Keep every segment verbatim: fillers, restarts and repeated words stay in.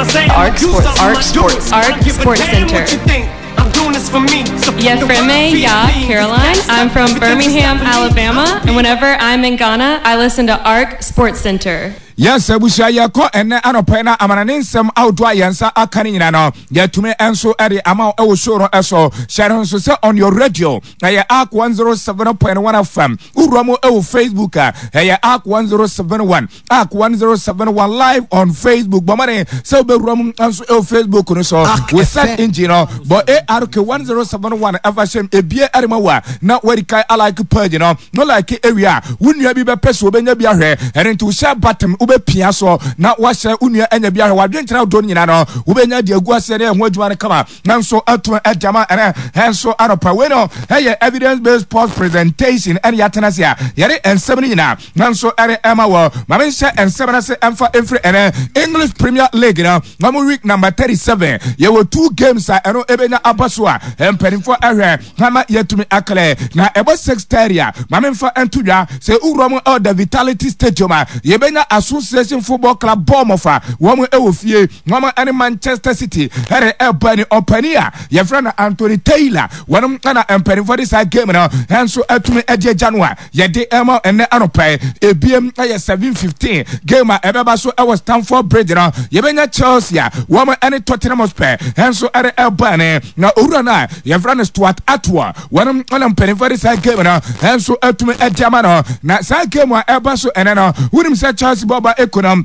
Arc Sports, Arc Sports, Arc Sports Center. Yɛfrɛ me Yaa Caroline. I'm from Birmingham, Alabama, and whenever I'm in Ghana, I listen to Arc Sports Center. Yes, abusua, yɛkɔ ɛnɛ anɔpɛ na amanane nsɛm ahodoɔ a yɛn nsa aka no nyina no, yɛtumi nso de ama wo ɛwɔ show no ɛso. Hyɛ no nso sɛ on your radio ɛyɛ Arc one oh seven point one F M. Wowura mu ɛwɔ Facebook a, ɛyɛ Arc one oh seven one, Arc one oh seven one live on Facebook. Bɔmmɔden sɛ wobɛwura mu nso ɛwɔ Facebook no so, wo search engine no bɔ A R K one oh seven one ɛfa hyɛm ebie ɛde ma wo a, na wadi kan alike page no no like ewie a, wo nua bi bɛpɛ sɛ wobɛnya bi ahwɛ. Ɛno nti wohyɛ button wobɛpia so na wahyɛ wo nua anya bi ahwɛ. Wadwenkyerɛ ahodoɔ no nyinaa no, wobɛnya de agu aseɛ ne ɛho adwuma no kama nanso ato agyama. Ɛnɛ ɛnso anɔpa wei no ɛyɛ evidence based sports presentation ɛne yɛatena ase a yɛde nsɛm no nyinaa nanso ɛde ɛma wɔ. Maame, nhyɛ nsɛm no ase ɛmfa ɛmfiri ɛnɛ English Premier League no na mo week number thirty-seven. Yɛwɔ two games a ɛno ɛbɛnya aba so a mpanimfoɔ ɛhwɛ ama yɛtumi aklɛ na ɛbɔ six thirty a, maame, mfa nto dwa sɛ wowura mu ɛwɔ the Vitality Stadium a, yɛbɛnya Association Football Club Bournemouth a wɔn ɛwɔ fie, wɔn ɛne Manchester City ɛde ɛbɔ ani. Ɔpani a yɛfrɛ no Anthony Taylor, wɔn ɛna mpanimfoɔ de saa game no ɛnso atumi ɛde agya no a yɛde ɛma ɛnɛ anɔpɛ. Ebiem ɛyɛ seven fifteen game a ɛbɛba so ɛwɔ Stamford Bridge no, yɛbɛnya Chelsea a wɔn ɛne Tottenham Hotspur ɛnso ɛde ɛbɔ ani na owura no a yɛfrɛ no Stuart Atwell, wɔn ɛna mpanimfoɔ de saa game no ɛnso atumi ɛde ama no. Na saa game a ɛba so ɛnɛ no, wonim sɛ Chelsea bɔba eko no,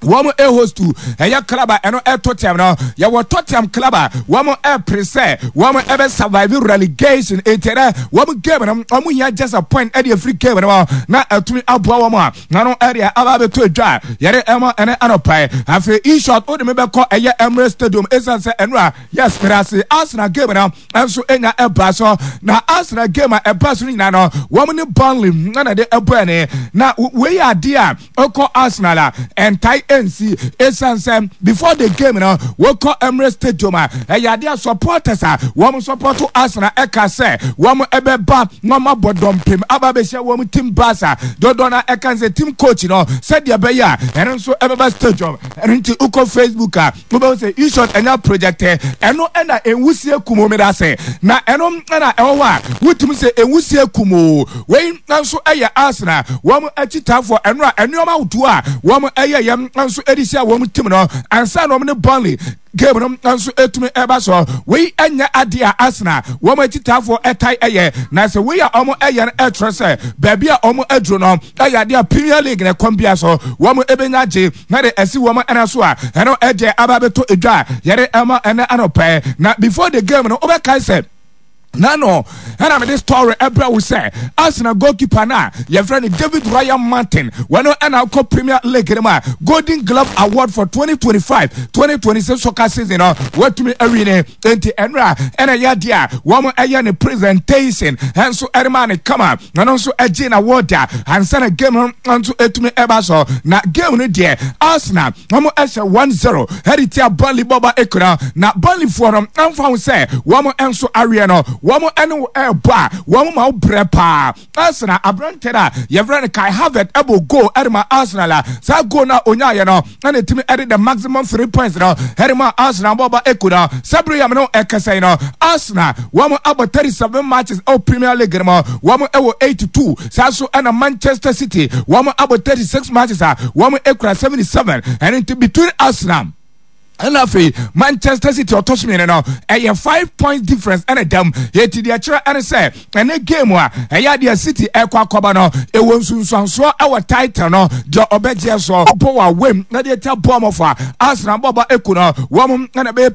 wɔn ɛhost ɛyɛ club a ɛno ɛ Tottenham no. Yɛwɔ Tottenham club a wɔn ɛpere sɛ wɔn ɛbɛ survive relegation, eti dɛ wɔn game no, wɔn hia just a point ɛde efiri game no na ɛtumi aboa wɔn a nano ɛde aba abɛto edwa yɛde ɛma ɛne anɔpɛ. Afei in short, o de mi bɛkɔ ɛyɛ Emirates Stadium esan sɛ ɛno a, yes, mɛrɛ Arsenal game no ɛnso enya ɛba so. Na Arsenal game a ɛba so no nyinaa no, wɔn ne Burnley ɛna de ɛbɔ ɛne na wei yɛ adeɛ a ɔkɔ Arsenal a ɛntae ɛnsi, esan sɛ before the game no, wɔkɔ Emirates Stadium a, ɛyɛ adeɛ a supporters a wɔn support Arsenal ɛka sɛ wɔn ɛbɛba na wɔn abɔ dɔmpem aba abɛhyia wɔn team bus a dodoɔ na ɛka sɛ team coach no sɛdeɛ ɛbɛyɛ a ɛno nso ɛbɛba stadium. Ɛno nti wokɔ Facebook a, wobɛhu sɛ ishort ɛnya project ɛno ɛna nwusie kum mi da sɛ na ɛno ɛna ɛwɔ hɔ a wotumi sɛ nwusie kum o. Wei nso ɛyɛ Arsenal wɔn akyitaafoɔ ɛno a ɛnneɛma ahodoɔ a wɔn ɛyɛ yɛm nso ɛde si a wɔn team no ansa na wɔn ne Burnley game no nso etumi ɛba so. Wei ɛnyɛ adeɛ a Arsenal wɔn akyitaafoɔ ɛtae ɛyɛ, na sɛ wei a wɔn ɛyɛ no ɛkyerɛ sɛ baabi a wɔn aduro no ɛyɛ adeɛ a Premier League na ɛkɔm bia so wɔn ɛbɛnya gye na de ɛsi wɔn ɛna so a ɛno ɛgye aba abɛtɔ edwa a yɛde ɛma ɛnɛ anɔpɛ. Na before the game no, wobɛkae sɛ nano ɛna mede story ɛbrɛ wo sɛ Arsenal goalkeeper no a yɛfrɛ no David Ryan Martin, wɔno ɛna akɔ Premier League no mu a Golden Glove Award for twenty twenty-five twenty twenty-six soccer season no watumi awi ne. Enti ɛnora ɛna ɛyɛ adeɛ a wɔn ɛyɛ ne presentation ɛnso ɛde ne kama na no nso ɛgye na award a ansa na game no nso ɛtumi ɛba so. Na game no deɛ, Arsenal wɔn ɛhyɛ one zero ɛde tia Burnley bɔba ekura. Na Burnley foɔ no ɛnfa ho sɛ wɔn nso awie no, wɔn ɛne wo ɛɛbɔ a, wɔn ma wo brɛ paa. Arsenal aberante no a yɛfrɛ no Kai Havertz ɛbɔ goal ɛde ma Arsenal a saa goal no a onyaayɛ no ɛna ɛtumi ɛde the maximum three points no ɛde ma Arsenal bɔba ekura. Sɛbere yam no ɛkasa yi no, Arsenal wɔn abɔ thirty seven matches ɛwɔ Premier League no mu, wɔn ɛwɔ eighty two. Saa so ɛna Manchester City wɔn abɔ thirty six matches a wɔn ekura seventy seven. Ɛno nti between Arsenal ɛna afei Manchester City ɔtɔ so mmienu no, ɛyɛ five point difference ɛna dam. Yɛti deɛ kyerɛ ɛne sɛ ɛne game a ɛyɛ adeɛ City ɛkɔ akɔba no, ɛwɔ nsunsuansoɔ ɛwɔ title no deɛ ɔbɛgyeɛ so bɔ wɔ awam na deɛ tia bɔ ɔmɔfo a Arsenal bɔba eku no wɔn ɛna bɛyɛ.